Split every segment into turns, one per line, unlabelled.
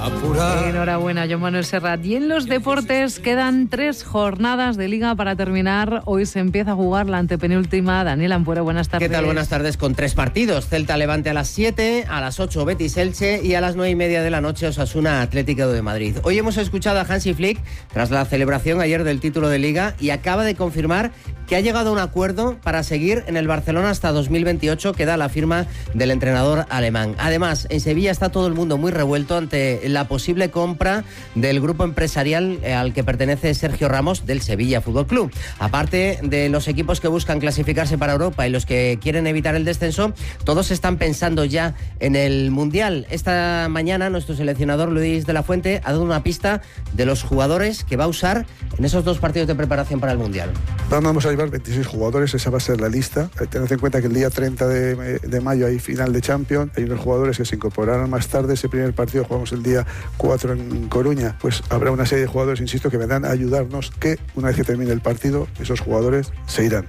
apurar.
Enhorabuena, Joan Manuel Serrat. Y en los deportes quedan 3 jornadas de Liga para terminar. Hoy se empieza a jugar la antepenúltima. Daniel Ampuero, buenas tardes.
¿Qué tal? Buenas tardes, con 3 partidos. Celta Levante a las 7, a las 8 Betis Elche y a las 9:30 de la noche Osasuna Atlético de Madrid. Hoy hemos escuchado a Hansi Flick tras la celebración ayer del título de Liga y acaba de confirmar que ha llegado a un acuerdo para seguir en el Barcelona hasta 2028, que da la firma del entrenador alemán. Además, en Sevilla está todo el mundo muy revuelto ante la posible compra del grupo empresarial al que pertenece Sergio Ramos del Sevilla Fútbol Club. Aparte de los equipos que buscan clasificarse para Europa y los que quieren evitar el descenso, todos están pensando ya en el Mundial. Esta mañana nuestro seleccionador Luis de la Fuente ha dado una pista de los jugadores que va a usar en esos 2 partidos de preparación para el Mundial.
Vamos a llevar 26 jugadores, esa va a ser la lista. Tened en cuenta que el día 30 de mayo hay final de Champions, hay unos jugadores que se incorporarán más tarde. Ese primer partido jugamos el día 4 en Coruña, pues habrá una serie de jugadores, insisto, que vendrán a ayudarnos, que una vez que termine el partido, esos jugadores se irán.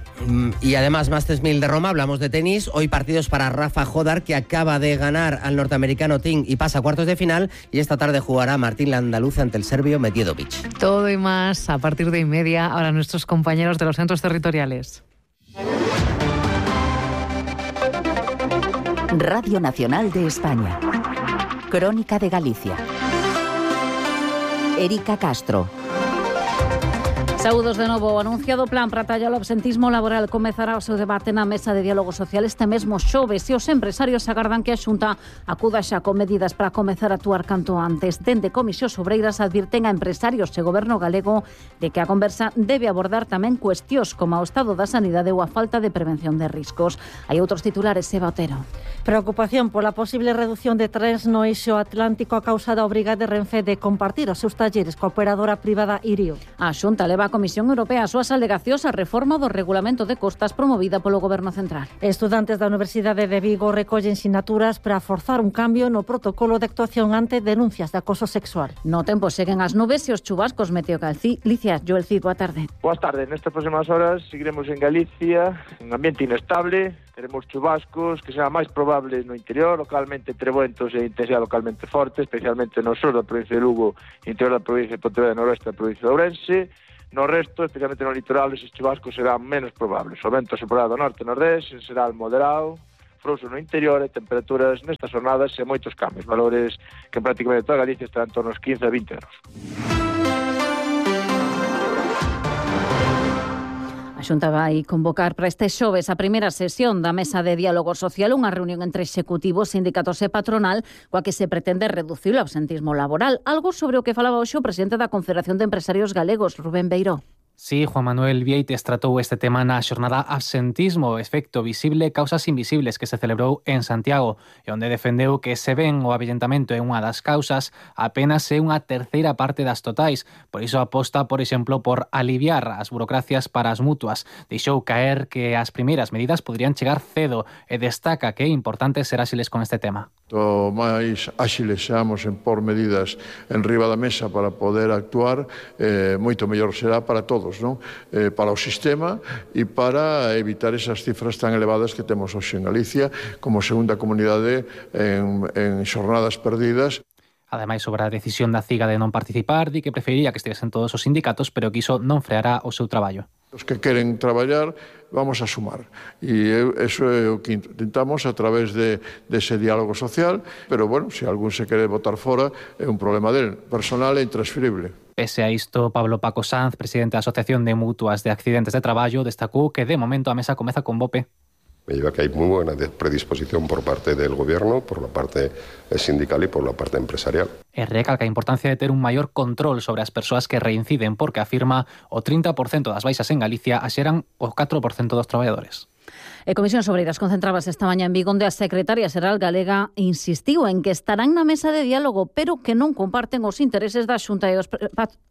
Y además, Masters 1000 de Roma, hablamos de tenis. Hoy partidos para Rafa Jodar, que acaba de ganar al norteamericano Ting y pasa a cuartos de final, y esta tarde jugará Martín Landaluz ante el serbio Medjedovic.
Todo y más a partir de 1:30. Ahora nuestros compañeros de los centros territoriales.
Radio Nacional de España. Crónica de Galicia. Erika Castro.
Saúdos de novo. O anunciado plan para tallar o absentismo laboral comezará o seu debate na mesa de diálogo social este mesmo xoves e os empresarios agardan que a Xunta acuda xa con medidas para comezar a actuar canto antes. Dende Comisións Obreiras advirten a empresarios e goberno galego de que a conversa debe abordar tamén cuestións como o estado da sanidade ou a falta de prevención de riscos. Hai outros titulares, Eva Otero.
Preocupación pola posible reducción de trens no eixo atlántico a causa da obriga de Renfe de compartir os seus talleres coa operadora privada Irio.
A Xunta leva a Comisión Europea as súas alegacións á reforma do regulamento de costas promovida polo Goberno Central.
Estudantes da Universidade de Vigo recollen sinaturas para forzar un cambio no protocolo de actuación ante denuncias de acoso sexual.
No tempo seguen as nubes e os chubascos Meteocalcicia. Joel Cid, boa tarde.
Boas tardes. Nestas próximas horas seguiremos en Galicia, en ambiente inestable. Teremos chubascos que será máis probable no interior, localmente trebuentos e intensidade localmente forte, especialmente no sur da provincia de Lugo, interior da provincia de Pontevedra e noroeste da provincia de Ourense. No resto, especialmente no litoral, esos chubascos serán menos probables. O vento soprará do norte e nordeste, será moderado, frouxo no interior e temperaturas nestas jornadas e moitos cambios. Valores que prácticamente toda Galicia estarán en torno aos 15 a 20 grados.
A Xunta vai convocar para este xoves a primeira sesión da Mesa de Diálogo Social, unha reunión entre executivos, sindicatos e patronal, coa que se pretende reducir o absentismo laboral, algo sobre o que falaba hoxe o presidente da Confederación de Empresarios Galegos, Rubén Beiró.
Sí, Juan Manuel Vieites tratou este tema na xornada Absentismo, efecto visible, causas invisibles, que se celebrou en Santiago, e onde defendeu que se ven o avellentamento é unha das causas, apenas é unha terceira parte das totais. Por iso aposta, por exemplo, por aliviar as burocracias para as mutuas. Deixou caer que as primeiras medidas poderían chegar cedo e destaca que é importante ser áxiles con este tema.
O máis áxiles seamos en por medidas en riba da mesa para poder actuar, moito mellor será para todos, non? Para o sistema e para evitar esas cifras tan elevadas que temos hoxe en Galicia como segunda comunidade en xornadas perdidas.
Ademais, sobre a decisión da CIGA de non participar, di que preferiría que estivesen todos os sindicatos, pero que iso non freará o seu traballo.
Os que queren traballar, vamos a sumar. E eso é o que intentamos a través dese diálogo social, pero, bueno, se algún se quere botar fora, é un problema del personal e intransferible.
Pese a isto, Pablo Paco Sanz, presidente da Asociación de Mutuas de Accidentes de Traballo, destacou que, de momento, a mesa comeza con BOPE.
Me lleva que hay muy buena predisposición por parte del Gobierno, por la parte sindical y por la parte empresarial.
E recalca a importancia de ter un maior control sobre as persoas que reinciden, porque afirma o 30% das baixas en Galicia axeran o 4% dos traballadores.
E Comisións Obreiras concentrábase esta mañá en Vigo, onde a secretaria xeral galega insistiu en que estarán na mesa de diálogo, pero que non comparten os intereses da Xunta e os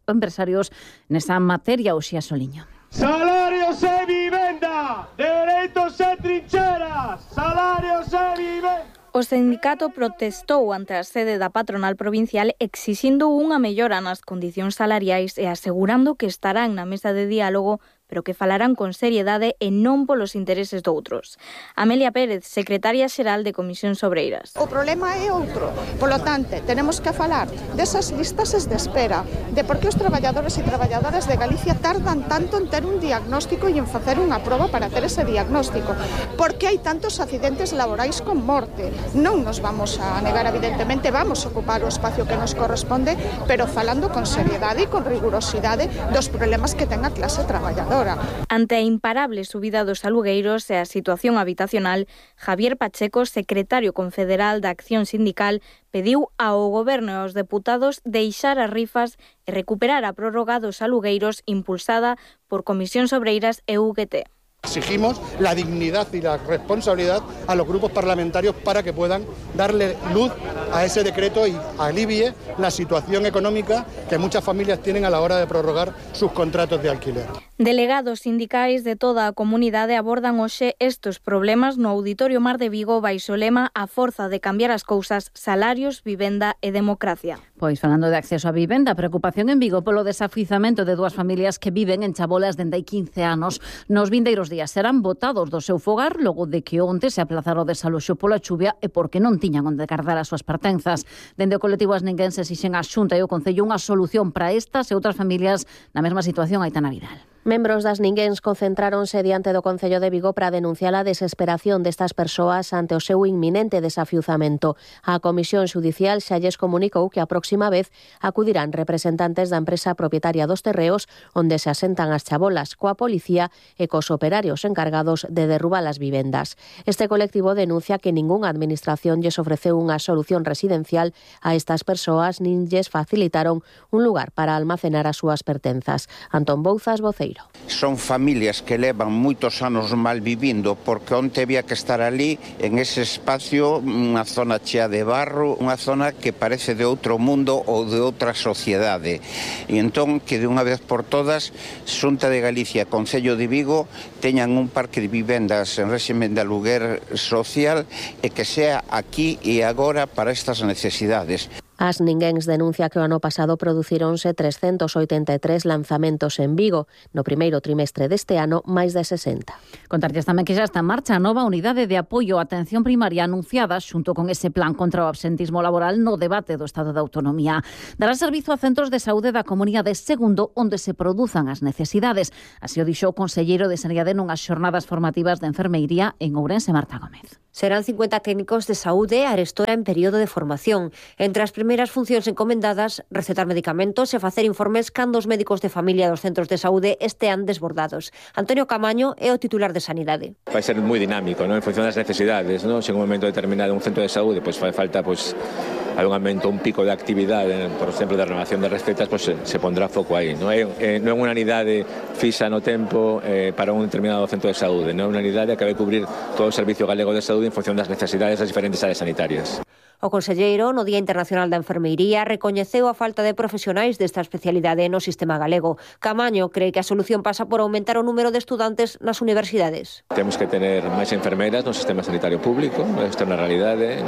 empresarios nesa materia. Uxía Soliño.
Salarios e vivenda, dereitos e trincheras, salarios e vivenda.
O sindicato protestou ante a sede da patronal provincial exixindo unha mellora nas condicións salariais e asegurando que estarán na mesa de diálogo pero que falarán con seriedade e non polos intereses doutros. Amelia Pérez, secretaria xeral de Comisións Obreiras.
O problema é outro, polo tanto, tenemos que falar desas listas de espera, de por que os traballadores e traballadoras de Galicia tardan tanto en ter un diagnóstico e en facer unha proba para ter ese diagnóstico, por que hai tantos accidentes laborais con morte. Non nos vamos a negar, evidentemente, vamos a ocupar o espacio que nos corresponde, pero falando con seriedade e con rigurosidade dos problemas que ten a clase traballadora.
Ante a imparable subida dos alugueiros e a situación habitacional, Javier Pacheco, secretario confederal da Acción Sindical, pediu ao Goberno e aos deputados deixar as rifas e recuperar a prórroga dos alugueiros impulsada por Comisións Obreiras e UGT.
Exigimos la dignidad y la responsabilidad a los grupos parlamentarios para que puedan darle luz a ese decreto y alivie la situación económica que muchas familias tienen a la hora de prorrogar sus contratos de alquiler.
Delegados sindicais de toda a comunidade abordan hoxe estes problemas no Auditorio Mar de Vigo baixo o lema A forza de cambiar as cousas, salarios, vivenda e democracia.
Pois falando de acceso a vivenda, preocupación en Vigo polo desafiuzamento de dúas familias que viven en chabolas dende hai 15 anos. Nos vindeiros días serán botados do seu fogar logo de que onte se aplazara o desaloxo pola chuvia e porque non tiñan onde guardar as súas pertenzas. Dende o colectivo Asninguense exixen a Xunta e o Concello unha solución para estas e outras familias na mesma situación Aitana Vidal.
Membros das Asninguens concentráronse diante do Concello de Vigo para denunciar a desesperación destas persoas ante o seu inminente desafiuzamento. A Comisión Xudicial xa lles comunicou que a próxima vez acudirán representantes da empresa propietaria dos terreos onde se asentan as chabolas, coa policía e cos operarios encargados de derrubar as vivendas. Este colectivo denuncia que ningunha administración lles ofreceu unha solución residencial a estas persoas nin lles facilitaron un lugar para almacenar as súas pertenzas. Antón Bouzas, voceiro.
Son familias que levan moitos anos mal vivindo porque onte había que estar ali en ese espacio, unha zona chea de barro, unha zona que parece de outro mundo ou de outra sociedade. E entón que de unha vez por todas Xunta de Galicia e Concello de Vigo teñan un parque de vivendas en réxime de aluguer social e que sea aquí e agora para estas necesidades.
As Asninguens denuncia que o ano pasado producironse 383 lanzamentos en Vigo. No primeiro trimestre deste ano, máis de 60.
Contarlles tamén que xa está en marcha a nova unidade de apoio á atención primaria anunciada xunto con ese plan contra o absentismo laboral no debate do Estado de Autonomía. Dará servizo a centros de saúde da Comunidade Segundo onde se produzan as necesidades. Así o dixo o conselleiro de Sanidade nunhas xornadas formativas de enfermeiría en Ourense, Marta Gómez.
Serán 50 técnicos de saúde arestora en período de formación. Entre as primeiras funcións encomendadas, recetar medicamentos e facer informes cando os médicos de familia dos centros de saúde estean desbordados. Antonio Camaño é o titular de Sanidade.
Vai ser moi dinámico, ¿no? En función das necesidades, ¿no? Se en un momento determinado un centro de saúde fai falta algún aumento, un pico de actividade, por exemplo, de renovación de recetas, se pondrá foco aí. Non é unha unidade fixa no tempo para un determinado centro de saúde, non é unha unidade que vai cubrir todo o servicio galego de saúde en función das necesidades das diferentes áreas sanitarias.
O conselleiro, no Día Internacional da Enfermeiría, recoñeceu a falta de profesionais desta especialidade no sistema galego. Camaño cree que a solución pasa por aumentar o número de estudantes nas universidades.
Temos que tener máis enfermeiras no sistema sanitario público, isto é unha realidade.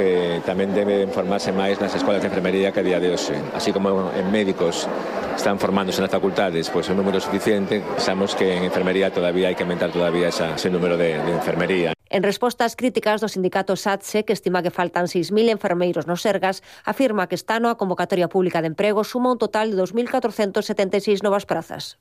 Tamén debe formarse máis nas escolas de enfermería que a día de hoxe. Así como en médicos están formándose nas facultades, un número suficiente, pensamos que en enfermería todavía hai que aumentar ese número de enfermería.
En resposta ás críticas do sindicato SATSE, que estima que faltan 6.000 enfermeiros nos Sergas, afirma que este ano a convocatoria pública de emprego suma un total de 2.476 novas prazas.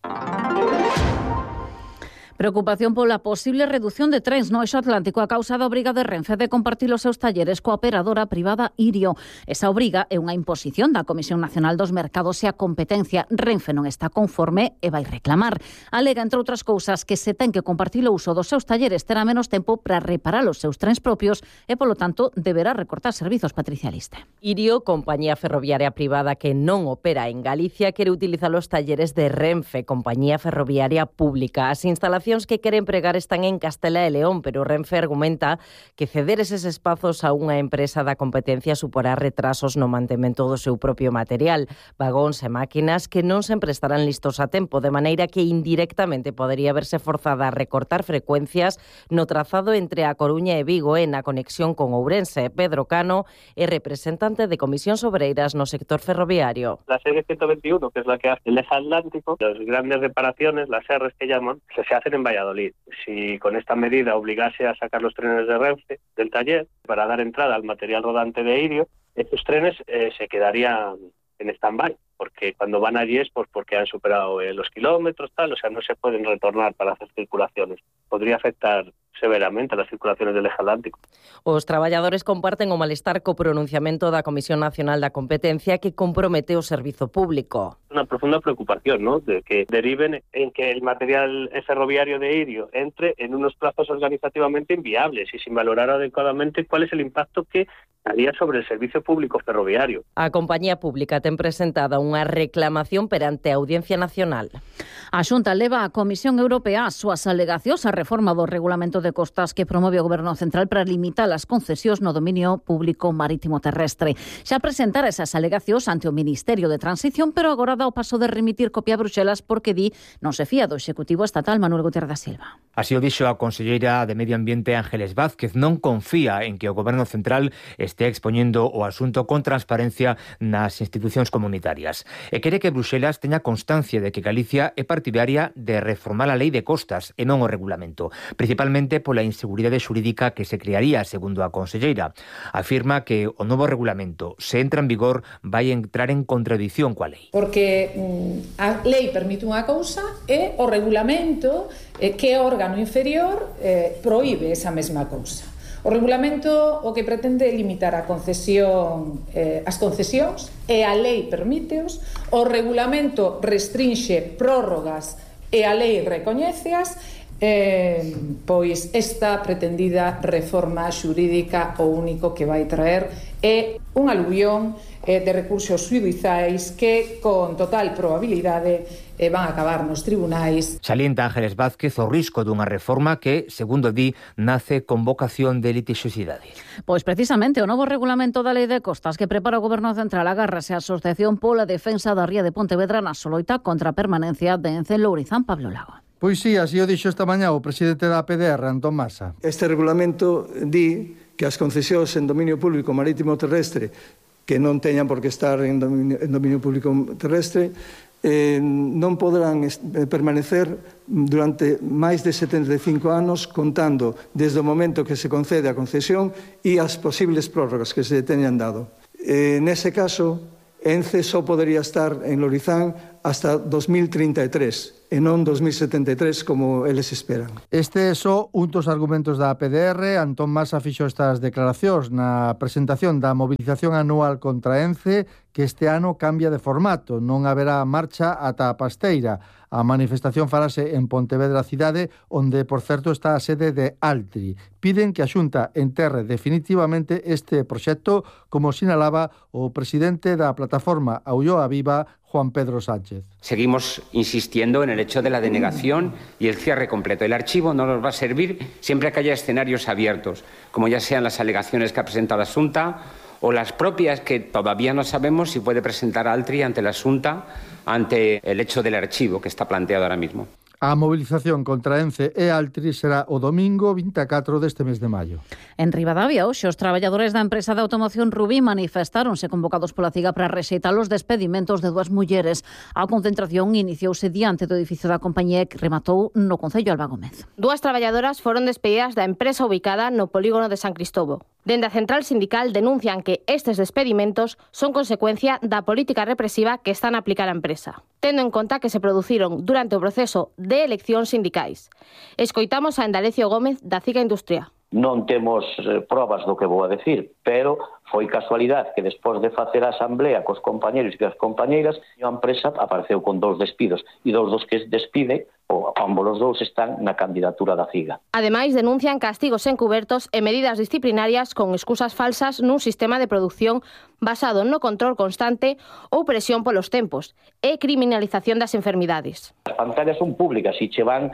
Preocupación pola posible reducción de trens no eixo atlántico a causa da obriga de Renfe de compartir os seus talleres coa operadora privada Irio. Esa obriga é unha imposición da Comisión Nacional dos Mercados e a Competencia. Renfe non está conforme e vai reclamar. Alega, entre outras cousas, que se ten que compartir o uso dos seus talleres, terá menos tempo para reparar os seus trens propios e, polo tanto, deberá recortar servizos. Patricia Liste.
Irio, compañía ferroviaria privada que non opera en Galicia, quere utilizar os talleres de Renfe, compañía ferroviaria pública. As instalacións estacións que queren empregar están en Castela e León, pero Renfe argumenta que ceder eses espazos a unha empresa da competencia suporá retrasos no mantemento do seu propio material, vagóns e máquinas que non sempre estarán listos a tempo, de maneira que indirectamente podería verse forzada a recortar frecuencias no trazado entre A Coruña e Vigo e na conexión con Ourense. Pedro Cano é representante de Comisións Obreiras no sector ferroviario.
La serie 121, que es la que hace el eje atlántico, las grandes reparaciones, las R's que llaman, se hacen en Valladolid. Si con esta medida obligase a sacar los trenes de Renfe del taller para dar entrada al material rodante de Irio, estos trenes se quedarían en stand-by, porque cuando van allí es porque han superado los kilómetros, tal, o sea, no se pueden retornar para hacer circulaciones. Podría afectar severamente a las circulaciones del eje atlántico.
Os traballadores comparten o malestar co pronunciamento da Comisión Nacional da Competencia que compromete o servizo público.
Una profunda preocupación, ¿no?, de que deriven en que el material ferroviario de Irio entre en unos plazos organizativamente inviables y sin valorar adecuadamente cuál es el impacto que haría sobre el servicio público ferroviario.
A compañía pública ten presentada unha reclamación perante a Audiencia Nacional.
A Xunta leva a Comisión Europea as súas alegacións á reforma do Regulamento de Costas que promove o Goberno Central para limitar as concesións no dominio público marítimo terrestre. Xa presentara esas alegacións ante o Ministerio de Transición, pero agora dá o paso de remitir copia a Bruxelas porque di non se fía do Executivo Estatal Manuel Gutiérrez da Silva.
Así o dixo a conselleira de Medio Ambiente Ángeles Vázquez, non confía en que o Goberno Central estea expoñendo o asunto con transparencia nas institucións comunitarias e quere que Bruxelas teña constancia de que Galicia é partidaria de reformar a lei de costas e non o regulamento, principalmente pola inseguridade xurídica que se crearía, segundo a conselleira. Afirma que o novo regulamento, se entra en vigor, vai entrar en contradición coa lei.
Porque a lei permite unha cousa e o regulamento, que é órgano inferior, proíbe esa mesma cousa. O regulamento o que pretende é limitar a concesión, as concesións, e a lei permíteos. O regulamento restrinxe prórrogas e a lei recoñéceas. Pois esta pretendida reforma xurídica o único que vai traer é un aluvión de recursos xudiciais que con total probabilidade van a acabar nos tribunais.
Salienta Ángeles Vázquez o risco dunha reforma que, segundo di, nace con vocación de litixiosidade.
Pois precisamente o novo regulamento da Lei de Costas que prepara o Goberno Central agárrase a Asociación pola Defensa da Ría de Pontevedra na soloita contra a permanencia de Ence en Lourizán. Pablo Lago.
Pois sí, así o dixo esta mañá o presidente da PDR, Antón Masa.
Este regulamento di que as concesións en dominio público marítimo terrestre que non teñan por que estar en dominio público terrestre non poderán permanecer durante máis de 75 anos contando desde o momento que se concede a concesión e as posibles prórrogas que se teñan dado. Nese caso, Ence só podería estar en Lourizán hasta 2033 e non 2073 como eles esperan.
Este é só un dos argumentos da PDR. Antón Masa fixo estas declaracións na presentación da mobilización anual contra Ence, que este ano cambia de formato. Non haberá marcha ata a Pasteira. A manifestación farase en Pontevedra cidade, onde, por certo, está a sede de Altri. Piden que a Xunta enterre definitivamente este proxecto, como sinalaba o presidente da plataforma Ulloa Viva, Juan Pedro Sánchez.
Seguimos insistiendo en el hecho de la denegación y el cierre completo. El archivo no nos va a servir siempre que haya escenarios abiertos, como ya sean las alegaciones que ha presentado la Xunta o las propias que todavía no sabemos si puede presentar Altri ante la Xunta ante el hecho del archivo que está planteado ahora mismo.
A mobilización contra Ence e Altri será o domingo 24 deste mes de maio.
En Ribadavia, hoxe, os traballadores da empresa de automoción Rubí manifestáronse convocados pola CIGA para rexeitar os despedimentos de 2 mulleres. A concentración iniciouse diante do edificio da compañía que rematou no Concello Alba Gómez.
2 traballadoras foron despedidas da empresa ubicada no polígono de San Cristóbal. Dende a central sindical denuncian que estes despedimentos son consecuencia da política represiva que están a aplicar a empresa, tendo en conta que se produciron durante o proceso de eleccións sindicais. Escoitamos a Endalecio Gómez da CIGA Industria.
Non temos probas do que vou a decir, pero foi casualidade que despois de facer a asamblea cos compañeros e as compañeiras, a empresa apareceu con 2 despidos e 2 dos que despide, ambos os 2 están na candidatura da CIGA.
Ademais, denuncian castigos encubertos e medidas disciplinarias con excusas falsas nun sistema de produción basado no control constante ou presión polos tempos e criminalización das enfermidades.
As pantallas son públicas e che van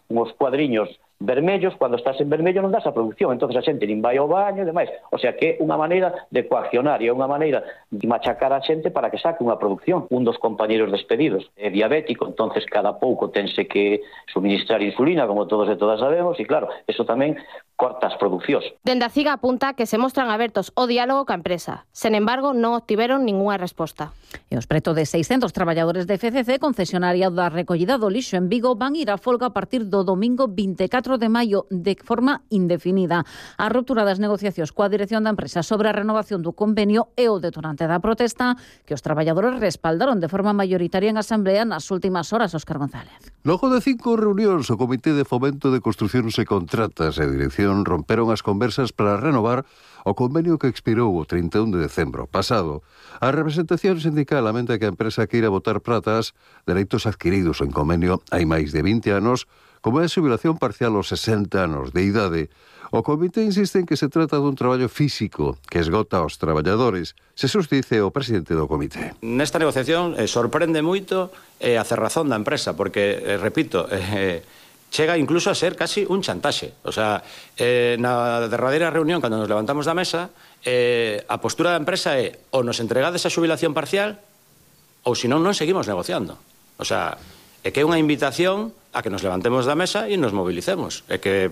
uns cuadriños vermellos, cando estás en vermello non das a produción, entonces a xente nin vai ao baño e demais. O sea que é unha maneira de coaccionar e é unha maneira de machacar a xente para que saque unha produción. Un dos compañeros despedidos é diabético, entonces cada pouco tense que suministrar insulina, como todos e todas sabemos, e claro, eso tamén corta as producións.
Dende a CIGA apunta que se mostran abertos ao diálogo ca empresa. Sen embargo, non obtiveron ningunha resposta.
E os preto de 600 traballadores de FCC, concesionaria da recollida do lixo en Vigo, van ir a folga a partir do domingo 24 de maio de forma indefinida. A ruptura das negociacións coa dirección da empresa sobre a renovación do convenio é o detonante da protesta que os traballadores respaldaron de forma mayoritaria en asamblea nas últimas horas. Óscar González.
Logo de 5 reunións, o Comité de Fomento de Construcións e Contratas e a dirección romperon as conversas para renovar o convenio que expirou o 31 de decembro pasado. A representación sindical lamenta que a empresa queira botar pratas dereitos adquiridos en convenio hai máis de 20 anos, como é a xubilación parcial aos 60 anos de idade. O comité insiste en que se trata dun traballo físico que esgota aos traballadores. Xesús dice o presidente do comité.
Nesta negociación sorprende moito a cerrazón da empresa, porque, repito, chega incluso a ser casi un chantaxe. O sea, na derradeira reunión, cando nos levantamos da mesa, a postura da empresa é ou nos entregades a xubilación parcial ou senón non seguimos negociando. O sea, é que é unha invitación a que nos levantemos da mesa e nos mobilicemos. É que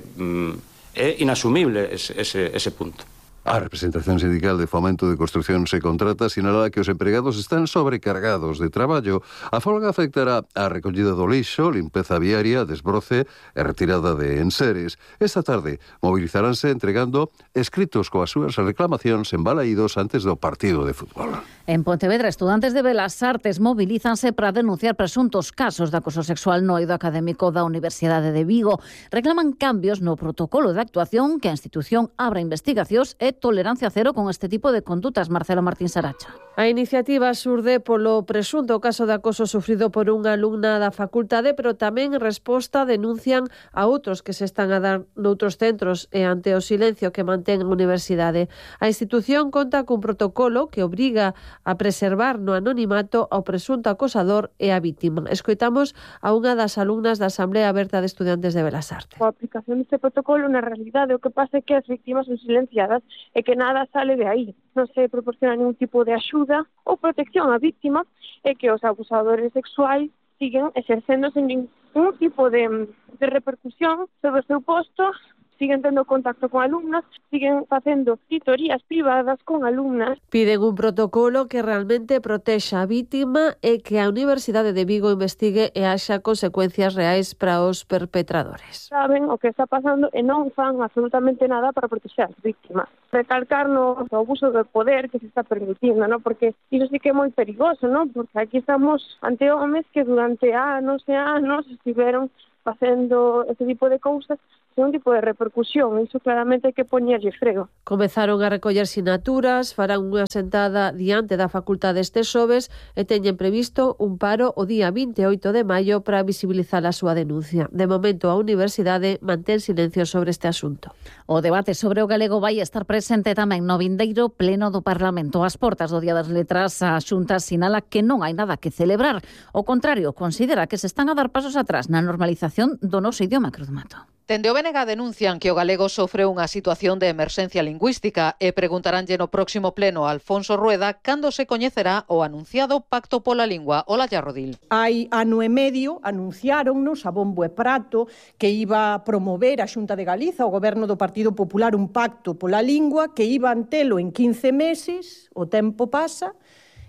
é inasumible ese punto.
A representación sindical de Fomento de Construcións e Contratas sinala que os empregados están sobrecargados de traballo. A folga afectará a recollida do lixo, limpeza viaria, desbroce e retirada de enseres. Esta tarde mobilizaránse entregando escritos coas súas reclamacións en Balaídos antes do partido de fútbol.
En Pontevedra, estudantes de Belas Artes mobilízanse para denunciar presuntos casos de acoso sexual no eido académico da Universidade de Vigo. Reclaman cambios no protocolo de actuación, que a institución abra investigacións e tolerancia cero con este tipo de condutas. Marcelo Martín Saracha.
A iniciativa surde polo presunto caso de acoso sufrido por unha alumna da facultade, pero tamén en resposta denuncian a outros que se están a dar noutros centros e ante o silencio que mantén a universidade. A institución conta cun protocolo que obriga a preservar no anonimato ao presunto acosador e a vítima. Escoitamos a unha das alumnas da Asamblea Aberta de Estudantes de Belas Artes.
A aplicación deste protocolo, na realidade, o que pasa é que as vítimas son silenciadas e que nada sale de aí. Non se proporciona ningún tipo de axuda ou protección á víctima e que os abusadores sexuais siguen exercendo sen ningún tipo de repercusión sobre o seu posto, siguen tendo contacto con alumnas, siguen facendo tutorías privadas con alumnas.
Piden un protocolo que realmente protexa a vítima e que a Universidade de Vigo investigue e haxa consecuencias reais para os perpetradores.
Saben o que está pasando e non fan absolutamente nada para proteger as vítimas. Recalcarnos o abuso do poder que se está permitindo, ¿no? Porque iso sí que é moi perigoso, ¿no? Porque aquí estamos ante homes que durante anos e anos estiveron facendo ese tipo de cousas sen un tipo de repercusión. Iso claramente hai que poñerlle freo.
Comezaron a recoller sinaturas, farán unha sentada diante da facultade este xoves e teñen previsto un paro o día 28 de maio para visibilizar a súa denuncia. De momento, a universidade mantén silencio sobre este asunto.
O debate sobre o galego vai estar presente tamén no vindeiro pleno do Parlamento. Ás portas do Día das Letras, a Xunta sinala que non hai nada que celebrar. O contrario, considera que se están a dar pasos atrás na normalización do noso idioma. Cruz Mato.
Dende o BNG denuncian que o galego sofre unha situación de emerxencia lingüística e preguntaránlle no próximo pleno a Alfonso Rueda cando se coñecerá o anunciado Pacto pola Lingua. Olalla Rodil.
Hai ano e medio anunciáronnos a bombo e prato que iba a promover a Xunta de Galiza, o goberno do Partido Popular, un pacto pola lingua que iban telo en 15 meses, o tempo pasa.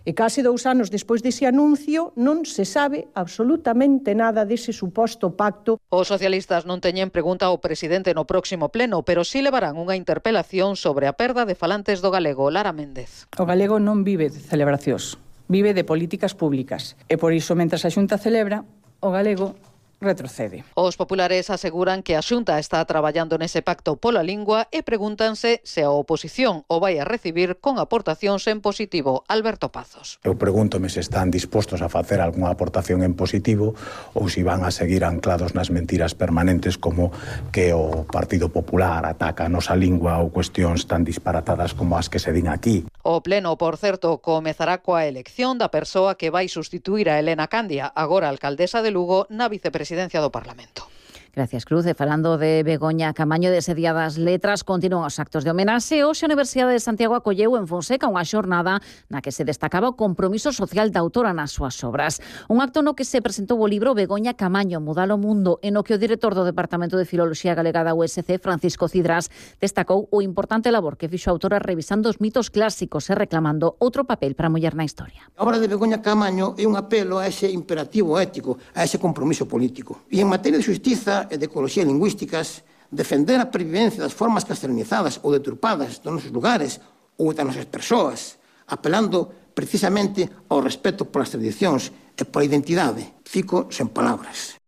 E case 2 anos despois dese anuncio non se sabe absolutamente nada dese suposto pacto.
Os socialistas non teñen pregunta ao presidente no próximo pleno, pero sí levarán unha interpelación sobre a perda de falantes do galego. Lara Méndez.
O galego non vive de celebracións, vive de políticas públicas. E por iso, mentras a Xunta celebra, o galego retrocede.
Os populares aseguran que a Xunta está traballando nese pacto pola lingua e pregúntanse se a oposición o vai a recibir con aportacións en positivo. Alberto Pazos.
Eu pregúntome se están dispostos a facer algunha aportación en positivo ou se van a seguir anclados nas mentiras permanentes como que o Partido Popular ataca a nosa lingua ou cuestións tan disparatadas como as que se din aquí.
O pleno, por certo, comezará coa elección da persoa que vai sustituir a Elena Candia, agora alcaldesa de Lugo, na vicepresidencia do Parlamento.
Gracias, Cruz. E falando de Begoña Camaño, dese Día das Letras, continúan os actos de homenaxe. Hoxe a Universidade de Santiago acolleu en Fonseca unha xornada na que se destacaba o compromiso social da autora nas súas obras. Un acto no que se presentou o libro Begoña Camaño, Mudar o Mundo, e no que o director do Departamento de Filoloxía Galega da USC, Francisco Cidrás, destacou o importante labor que fixo a autora revisando os mitos clásicos e reclamando outro papel para a muller na historia.
A obra de Begoña Camaño é un apelo a ese imperativo ético, a ese compromiso político. E en materia de xustiza e de ecoloxía lingüísticas, defender a previvencia das formas castellanizadas ou deturpadas dos nosos lugares ou das nosas persoas, apelando precisamente ao respeto polas tradicións e pola identidade. Fico sen palabras.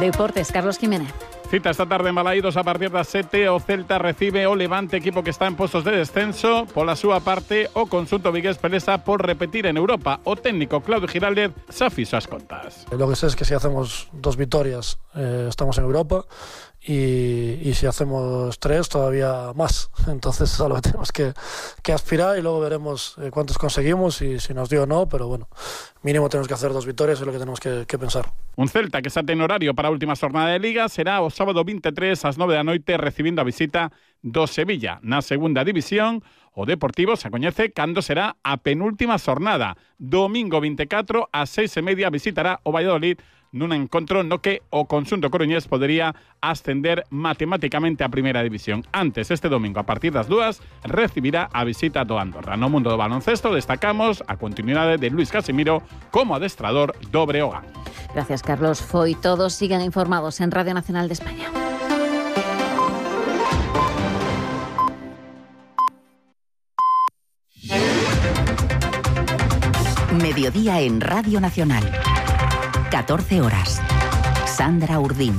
Deportes, Carlos Jiménez.
Cita esta tarde en Balaídos a partir das 7. O Celta recibe o Levante, equipo que está en postos de descenso. Pola súa parte, o conxunto vigués pelesa por repetir en Europa. O técnico Claudio Giraldez xa fixo as contas.
Lo que sé es que si hacemos 2 victorias estamos en Europa y si hacemos 3 todavía más. Entonces es a lo que tenemos que aspirar y luego veremos cuántos conseguimos y si nos dio o no, pero bueno, mínimo tenemos que hacer 2 victorias, es lo que tenemos que pensar.
Un Celta que xa ten horario para a última xornada de Liga será o sábado 23 ás 9 da noite recibindo a visita do Sevilla. Na segunda división, o Deportivo se coñece cando será a penúltima xornada. Domingo 24 ás 6:30 visitará o Valladolid nun encontro no que o conxunto coruñés podería ascender matemáticamente a primeira división. Antes, este domingo, a partir das 2, recibirá a visita do Andorra. No mundo do baloncesto destacamos a continuidade de Luis Casimiro como adestrador do Breogán.
Gracias, Carlos. Foi todo. Sigan informados en Radio Nacional de España.
Mediodía en Radio Nacional. 14 horas. Sandra Urdín.